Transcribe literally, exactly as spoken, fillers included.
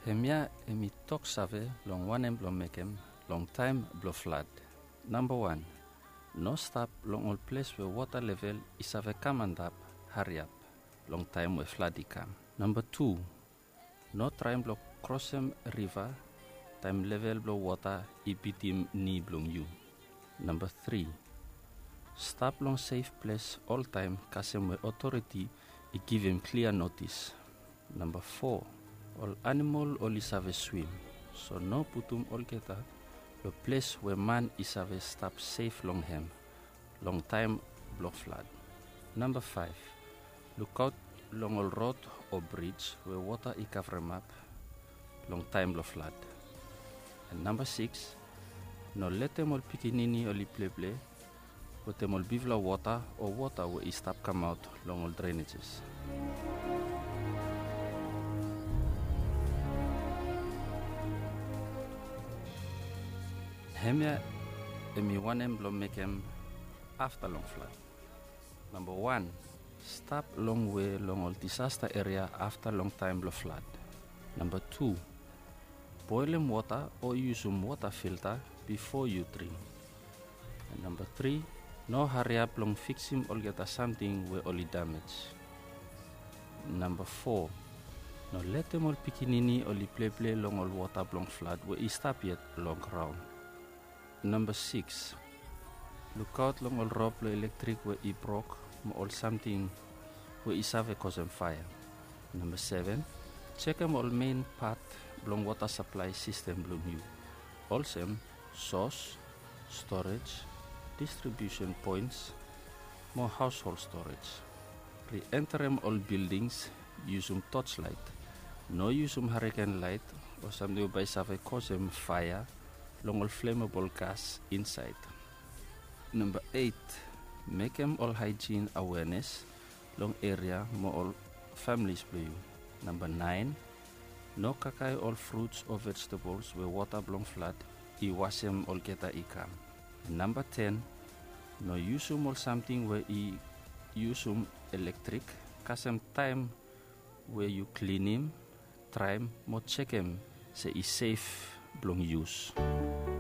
Hemia hemi toksave long wanem blong mekem long taem blong flad. Namba wan, no stap long ol ples we wota level i save kam antap hariap long taem we flad i kam. Namba tu, no traem blong krosem riva taem level blong wota i bitim ni blong yu. Namba tri, stap long sef ples oltaem kasem we otoriti i givim klia notis. Namba fo, ol anamol oli save swim, so no putum olgeta long ples we man i save stap sef long hem long taem blong flad. Namba faef, lukaot long ol rod o brij we wota i kavremap long taem blong flad. Namba sikis, no letem ol pikinini oli pleple wetem ol bigfala wota o wota we i stap kamaot long ol drenejes. Hemia hemi wanem blong mekem afta long flad. Namba wan, stap longwe long ol disasta eria afta long taem blong flad. Namba tu, boelem wota o yusum wota filta bifo yu dring. Namba tri, no hariap long fiksim olgeta samting we oli damej. Namba fo, no letem ol pikinini oli pleple long ol wota blong flad we i stap yet long graon. Namba sikis, lukaot long ol rop blong elektrik we i brok mo ol samting we i save kosem faea. Namba seven, jekem ol mein pat blong wota saplae sistem blong yu, olsem sos, storej, distribiusen poens mo haoshol storej. Rienterem ol bildings yusum tojlaet. No yusum hariken laet o samting we bae i save kosem faea long ol flemabol gas insaed. Namba eit, mekem ol haejin aweanes long eria mo ol familis blong yu. Namba naen, no kakae ol fruts o vejetabols we wota blong flad i wasem olgeta i kam. Namba ten, no yusum ol samting we i yusum elektrik kasem taem we yu klinim, draem mo jekem se i sef blong yus.